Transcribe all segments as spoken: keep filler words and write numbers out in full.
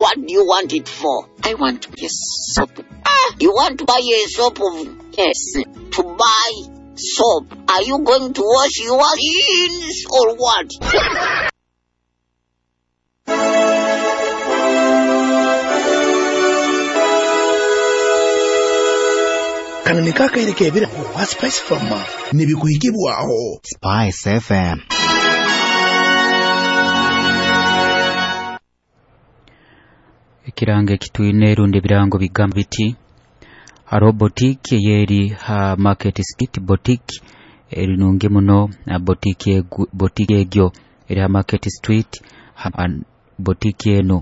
What do you want it for? I want a soap. Ah, you want to buy a soap of Yes. to buy soap. Are you going to wash your jeans or what? Kano nikaakaire ebirago wa Spice Farmer nibikuhikibwaho Spice F M. Ekirango ekitwine rundi ebirango bigamba biti hariho boutique eyeri ha Market Street, boutique eri nungi muno, boutique boutique egyo eri ha Market Street, ha boutique eno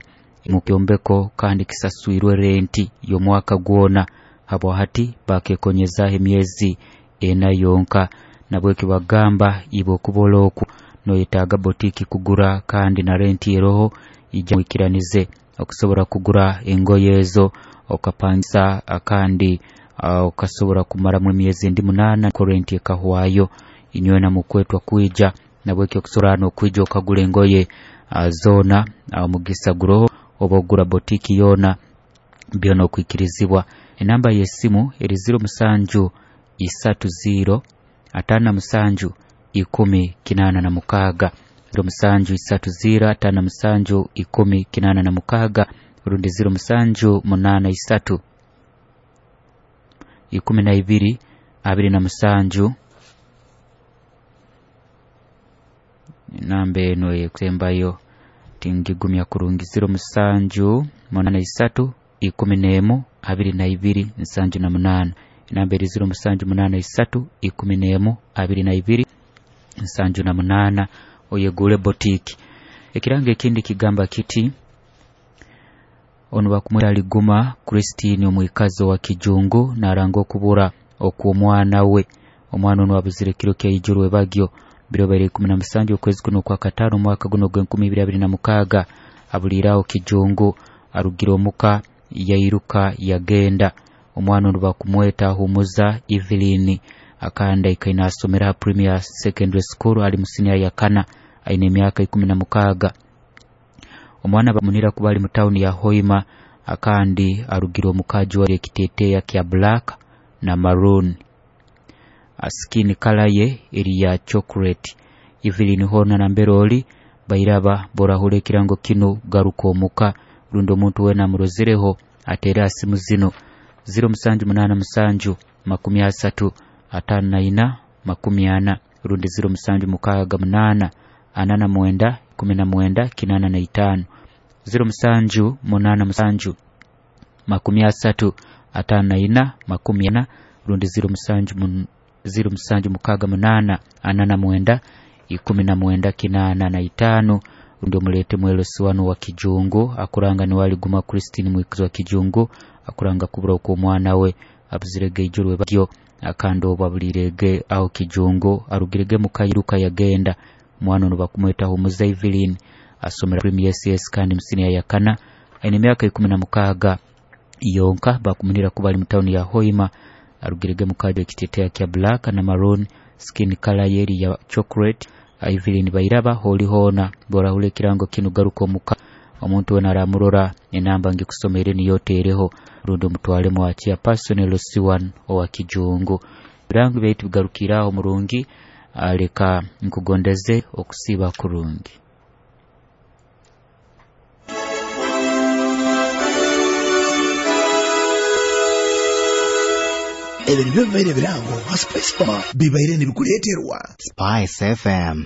mu kyombeko kandi kisaswirwe renti y'omwaka gwona habwa hati bakekonyeza emyezi ena yonka. Nabweki bagamba ibo okubola oku noyetaaga boutique kugura kandi na renti eroho ija mwikiranize okusobola kugura engoye ezo okapangisa kandi okasobola kumaramu emyezi endi munaana ko renti ekahwayo. Inywena mukwetwa kwija nabweki okusobola n'okwija okagura engoye zona omugisa guroho oba ogura boutique yona byona okwikirizibwa. Enamba y'esimu eri ziro musanju isatu ziro atano na musanju ikumi kinana na mukaaga, ziro musanju isatu ziro atano na musanju ikumi kinana na mukaaga, rundi ziro musanju munana isatu ikumi na ibiri abiri na musanju. Namba eno ekusembayo tingigumya kurungi, ziro musanju munana isatu ikumi n'emu abiri na ibiri nsanju na munana. Enamba eri ziro musanju munana isatu ikumi n'emu abiri na ibiri nsanju na munana, oyegule boutique. Ekirango ekindi kigamba kiti ono bakumweta Liguma Christine omwikazi wa Kijungu naranga okubura okw'omwana we. Omwana ono abuzire kiro kya ijuru ebagyo biro bibiri ikumi na musanju okwezi kuno kwa katano omwaka guno gw'enkumi ibiri abiri na mukaaga. Abuliraho Kijungu arugira omuka yairuka yagenda. Omwana ono bakumweta Humuza Evelyn akanda ikaina asomera Premier Secondary School ali musinia ya kana aine emyaka ikumi na mukaaga. Omwana bamunira kuba ali mu town ya Hoima akandi arugira omukaji wa ekiteteya kya black na maroon, skin color ye eri ya chocolate. Evelyn hona na mberoli bairaba borahule ekirango kino garuka omuka rundi omuntu wena amurozereho atera simu zino ziro musanju munana musanju makumi asatu atano na ina makumi ana rundi ziro musanju mukaaga munana ana na mwenda kumi na mwenda kinana na itano, ziro musanju munana musanju makumi asatu atano na ina makumi ana rundi ziro musanju mun, ziro musanju mukaaga munana ana na mwenda ikumi na mwenda kinana na itano rundi omulete mwelosi wano wa Kijungu akuranga ni Waliguma Christine mwikazi wa Kijungu akuranga kubura okw'omwana we abuzirege ijuru ebagyo akandi obwo abulirege aho Kijungu arugirege mukayiruka yagenda. Omwana ono bakumweta Humuza Evelyn asomera Premier S S kandi musinia ya kana aine emyaka ikumi na mukaaga yonka. Bakumunira kuba ali mu town ya Hoima arugirege mukajo ekiteteya kya black na maroon, skin color yeri ya chocolate. Evelyn bairaba holi hona borahule ekirango kino garuka omuka omuntu wena aramurora enamba ngikusomere niyo tereho rundi omutwale mwachia personal C one owa Kijungu. Birango byaitu bigarukiraho murungi, aleka nkugondeze okusiba kurungi. Ebyo nibyo bibaire ebirango ha Spice Farmer bibaire nibikuleeterwa Spice F M.